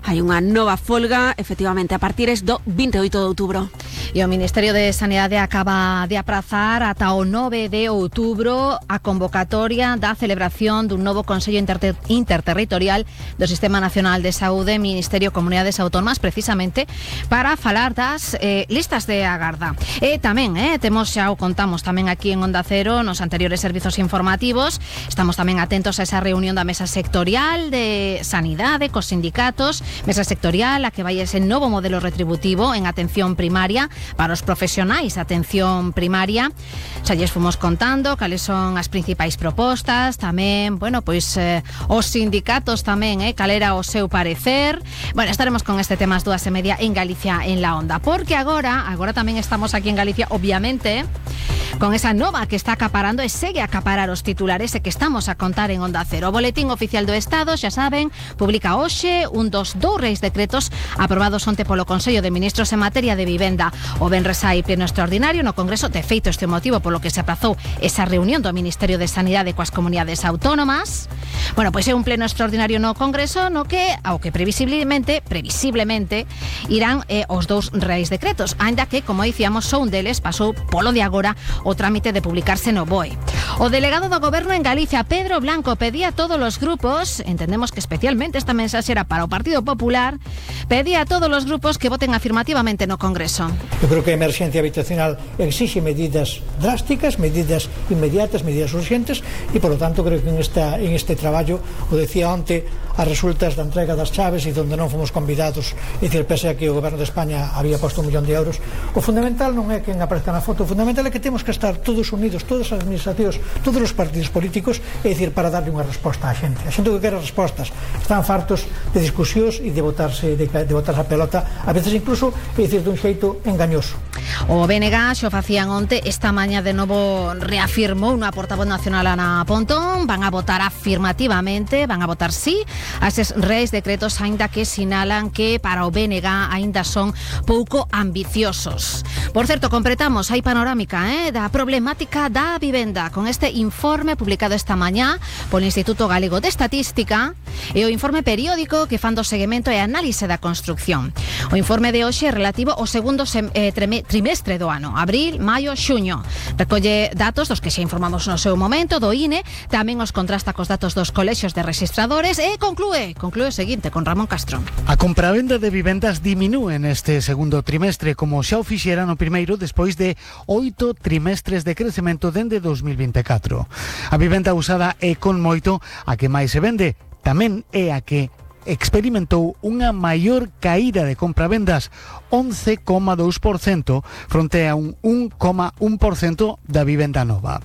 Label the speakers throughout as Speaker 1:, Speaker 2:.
Speaker 1: Hai unha nova folga, efectivamente, a partir do 28 de outubro.
Speaker 2: E o Ministerio de Sanidade acaba de aprazar ata o 9 de outubro a convocatoria da celebración dun novo Consello Interterritorial do Sistema Nacional de Saúde, Ministerio e Comunidades Autónomas, precisamente para falar das listas de agarda. E tamén, temos, xa o contamos tamén aquí en Onda Cero, nos anteriores servizos informativos, estamos tamén atentos a esa reunión da mesa sectorial de Sanidade cos sindicatos, mesa sectorial a que vai ese novo modelo retributivo en atención primaria para os profesionais de atención primaria. Xa lles fomos contando cales son as principais propostas, tamén, bueno, pois os sindicatos tamén, cal era o seu parecer. Bueno, estaremos con este tema ás 2:30 en Galicia en la Onda, porque agora tamén estamos aquí en Galicia, obviamente, con esa nova que está acaparando e segue a acaparar os titulares e que estamos a contar en Onda Cero. O Boletín Oficial do Estado, xa saben, publica hoxe un dos dous reis decretos aprobados onte polo Consello de Ministros en materia de vivenda. O venres hai pleno extraordinario no Congreso, de feito este motivo polo que se aprazou esa reunión do Ministerio de Sanidade coas comunidades autónomas. Bueno, pois é un pleno extraordinario no Congreso no que, ao que previsiblemente irán os dous reis decretos, aínda que, como dicíamos, só un deles pasou polo de agora o trámite de publicarse no BOE. O delegado do Goberno en Galicia, Pedro Blanco, pedía a todos os grupos, entendemos que especialmente esta mensaxe era para o Partido Popular, pedía a todos os grupos que voten afirmativamente no Congreso.
Speaker 3: Eu creo que a emerxencia habitacional exixe medidas drásticas, medidas inmediatas, medidas urgentes e, por lo tanto, creo que en este traballo, o decía onte, as resultas da entrega das chaves e onde non fomos convidados, é dicir, pese a que o Goberno de España había posto 1 millón de euros, o fundamental non é quen aparezca na foto, o fundamental é que temos que estar todos unidos, todas as administracións, todos os partidos políticos, é dicir, para darle unha resposta á xente. A xente que quere respostas están fartos de discusións e de botarse a pelota, a veces incluso, é dicir, dun xeito engañoso.
Speaker 2: O BNG xo facían onte, esta mañá de novo reafirmou unha portavoz nacional, Ana Pontón, van a votar afirmativamente, van a votar sí a eses reis decretos, aínda que sinalan que para o BNG aínda son pouco ambiciosos. Por certo, completamos hai panorámica da problemática da vivenda con este informe publicado esta mañá polo Instituto Galego de Estatística e o informe periódico que fan do seguimento e análise da construcción. O informe de hoxe é relativo ao segundo trimestre do ano, abril, maio, xuño. Recolle datos dos que xa informamos no seu momento do INE, tamén os contrasta cos datos dos colexios de registradores e conclúe o seguinte con Ramón Castro.
Speaker 4: A compravenda de vivendas diminúe neste segundo trimestre, como xa o fixera no primeiro despois de 8 trimestres de crecemento dende 2024. A vivenda usada é con moito a que máis se vende, tamén é a que experimentou unha maior caída de compravendas, 11,2% fronte a un 1,1% da vivenda nova.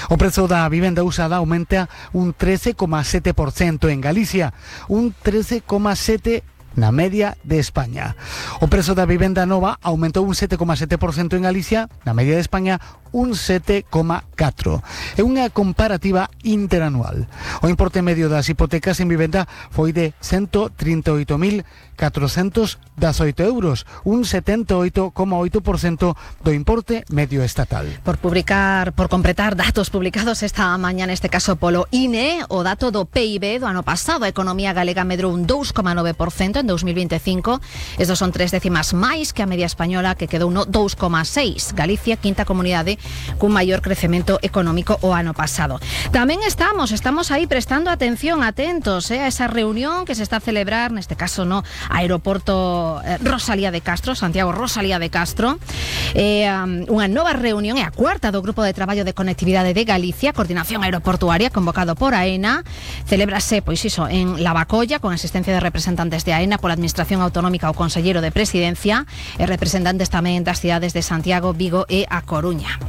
Speaker 4: O prezo da vivenda usada aumenta un 13,7% en Galicia, un 13,7% na media de España. O prezo da vivenda nova aumentou un 7,7% en Galicia, na media de España un 7,4%. É unha comparativa interanual. O importe medio das hipotecas en vivenda foi de 138.418 euros, un 78,8% do importe medio estatal.
Speaker 2: Por completar datos publicados esta mañá, neste caso polo INE, o dato do PIB do ano pasado, a economía galega medrou un 2,9% en 2025. Estos son 3 décimas máis que a media española, que quedou no 2,6%. Galicia, quinta comunidade cun maior crecemento económico o ano pasado. Tamén estamos aí prestando atención, atentos a esa reunión que se está a celebrar, neste caso no aeroporto Rosalía de Castro, Santiago Rosalía de Castro. Unha nova reunión, é a cuarta do Grupo de Traballo de Conectividade de Galicia, Coordinación Aeroportuaria, convocado por AENA. Celébrase, pois iso, en Lavacolla, con asistencia de representantes de AENA, pola Administración Autonómica, o Conselleiro de Presidencia e representantes tamén das cidades de Santiago, Vigo e A Coruña.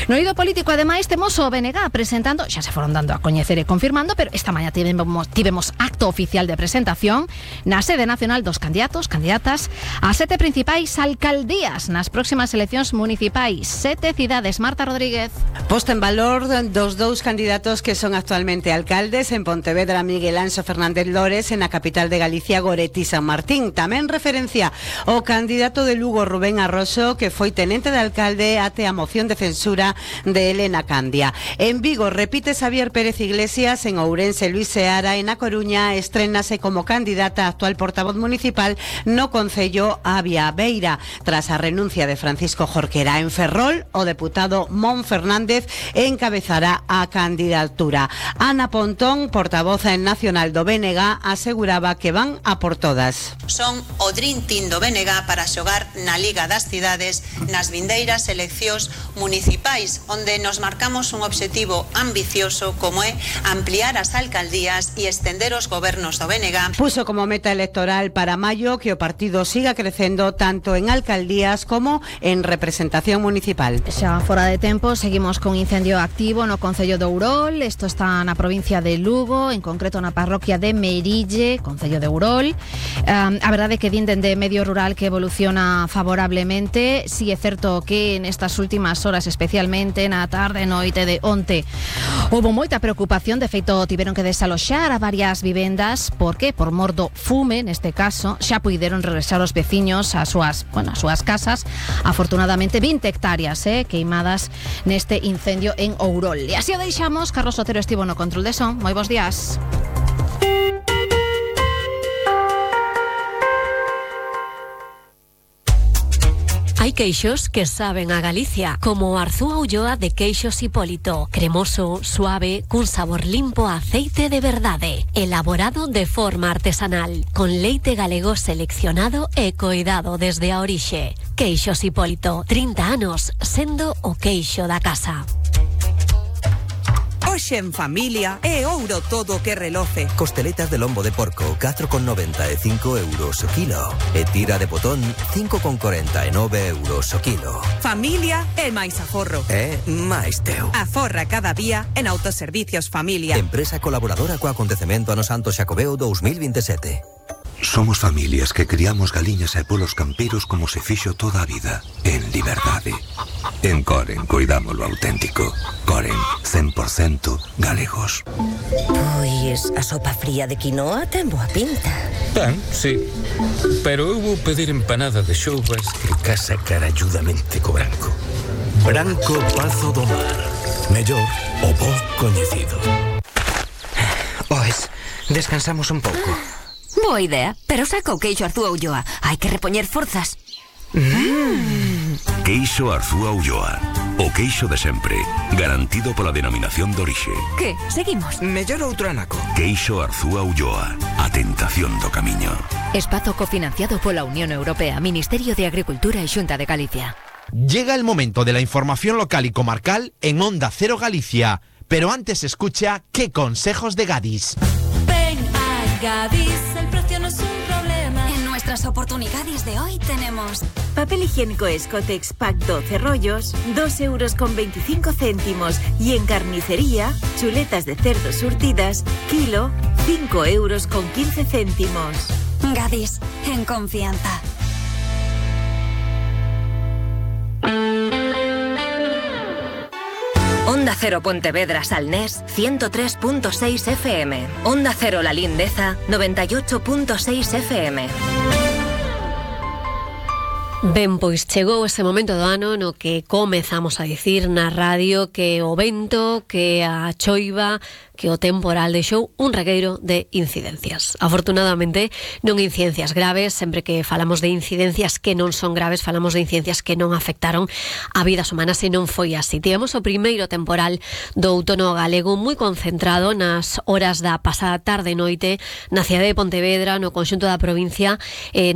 Speaker 2: No eido político, ademais, temos o BNG presentando, xa se foron dando a coñecer e confirmando, pero esta mañá tivemos acto oficial de presentación na sede nacional dos candidatas a 7 principais alcaldías nas próximas eleccións municipais. 7 cidades. Marta Rodríguez.
Speaker 5: Posta en valor dos dous candidatos que son actualmente alcaldes en Pontevedra, Miguel Anxo Fernández Lores, en a capital de Galicia, Goretti San Martín. Tamén referencia o candidato de Lugo, Rubén Arroxo, que foi tenente de alcalde até a moción de censura de Elena Candia. En Vigo repite Xavier Pérez Iglesias, en Ourense Luis Seara e na Coruña estrénase como candidata a actual portavoz municipal no concello Avia Beira, tras a renuncia de Francisco Jorquera. En Ferrol, o deputado Mon Fernández encabezará a candidatura. Ana Pontón, portavoz nacional do BNG, aseguraba que van a por todas.
Speaker 6: Son o Dream Team do BNG para xogar na Liga das Cidades nas vindeiras eleccións municipais, onde nos marcamos un obxectivo ambicioso como é ampliar as alcaldías e estender os gobernos do BNG.
Speaker 5: Puso como meta electoral para maio que o partido siga crecendo tanto en alcaldías como en representación municipal.
Speaker 2: Xa fora de tempo, seguimos con incendio activo no concello de Ourol. Isto está na provincia de Lugo, en concreto na parroquia de Merille, concello de Ourol. A verdade é que din dende medio rural que evoluciona favorablemente. Si é certo que nestas últimas horas, especialmente na tarde e noite de onte, houve moita preocupación. De feito, tiveron que desaloxar a varias vivendas. Por que? Por mor do fume, neste caso. Xa puideron regresar os veciños ás súas casas. Afortunadamente, 20 hectáreas queimadas neste incendio en Ourol. E así o deixamos. Carlos Otero estivo no control de son. Moi bons días.
Speaker 7: Hai queixos que saben a Galicia, como o Arzúa Ulloa de Queixos Hipólito. Cremoso, suave, cun sabor limpo a aceite de verdade. Elaborado de forma artesanal, con leite galego seleccionado e coidado desde a orixe. Queixos Hipólito, 30 anos, sendo o queixo da casa.
Speaker 8: Hoxe en familia é ouro todo o que reloce.
Speaker 9: Costeletas de lombo de porco, 4,90 e 5 euros o kilo. E tira de botón, 5,49 euros o kilo.
Speaker 8: Familia é máis aforro.
Speaker 9: É máis teu.
Speaker 8: Aforra cada día en Autoservicios Familia.
Speaker 9: Empresa colaboradora co acontecemento ano Santo Xacobeo 2027.
Speaker 10: Somos familias que criamos galiñas e polos campeiros como se fixo toda a vida, en liberdade. En Coren cuidamos lo auténtico. Coren, 100% galegos.
Speaker 11: Pois a sopa fría de quinoa ten boa pinta.
Speaker 12: Ten, sí. Pero eu vou pedir empanada de xoubas que casa caralludamente co branco. Branco Pazo do Mar. Mellor o bo coñecido.
Speaker 11: Pois, descansamos un pouco.
Speaker 13: Boa idea, pero saca o queixo Arzúa Ulloa. Hai que repoñer forzas.
Speaker 10: Queixo Arzúa Ulloa. O queixo de sempre, garantido pola denominación de orixe.
Speaker 13: Que? Seguimos?
Speaker 11: Mellor outro anaco.
Speaker 10: Queixo Arzúa Ulloa. A tentación do camiño.
Speaker 14: Espazo cofinanciado pola Unión Europea, Ministerio de Agricultura e Xunta de Galicia.
Speaker 15: Llega el momento de la información local y comarcal en Onda Cero Galicia. Pero antes escucha qué consejos de Gadis.
Speaker 16: Ven a Gadis, el precio no es un problema.
Speaker 17: En nuestras oportunidades de hoy tenemos
Speaker 18: papel higiénico Escotex Pack 12 rollos, 2,25 €. Y en carnicería, chuletas de cerdo surtidas, kilo, 5,15 €.
Speaker 17: Gadis, en confianza.
Speaker 14: Onda Cero Pontevedra Salnés 103.6 FM. Onda Cero La Lindeza 98.6 FM.
Speaker 7: Ben, pois chegou ese momento do ano no que comezamos a dicir na radio que o vento, que a choiva, que o temporal deixou un regueiro de incidencias. Afortunadamente, non incidencias graves, sempre que falamos de incidencias que non son graves, falamos de incidencias que non afectaron a vidas humanas e non foi así. Tivemos o primeiro temporal do outono galego moi concentrado nas horas da pasada tarde e noite na cidade de Pontevedra, no conxunto da provincia,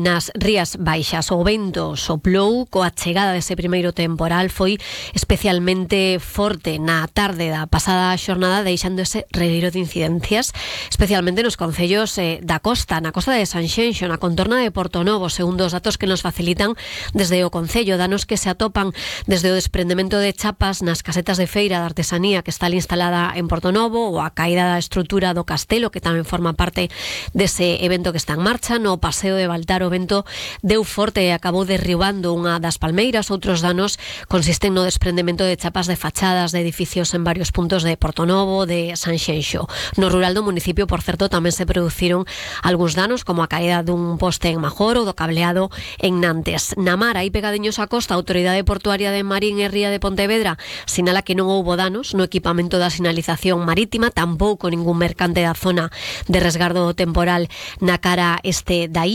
Speaker 7: nas Rías Baixas. O vento soplou coa chegada dese primeiro temporal, foi especialmente forte na tarde da pasada xornada, deixando ese regueiro de incidencias, especialmente nos concellos da costa, na costa de Sanxenxo, na contorna de Portonovo, segundo os datos que nos facilitan desde o concello, danos que se atopan desde o desprendemento de chapas nas casetas de feira de artesanía que está ali instalada en Portonovo, ou a caída da estrutura do castelo, que tamén forma parte dese evento que está en marcha. No paseo de Baltar o vento deu forte e acabou derribando unha das palmeiras. Outros danos consisten no desprendemento de chapas de fachadas de edificios en varios puntos de Portonovo, de Sanxenxo Xenxo. No rural do municipio, por certo, tamén se produciron algúns danos, como a caída dun poste en Major ou do cableado en Nantes. Na mar, aí pegadiños á costa, a Autoridade Portuaria de Marín e Ría de Pontevedra sinala que non houbo danos no equipamento da sinalización marítima, tampouco ningún mercante da zona de resgardo temporal na cara este da illa.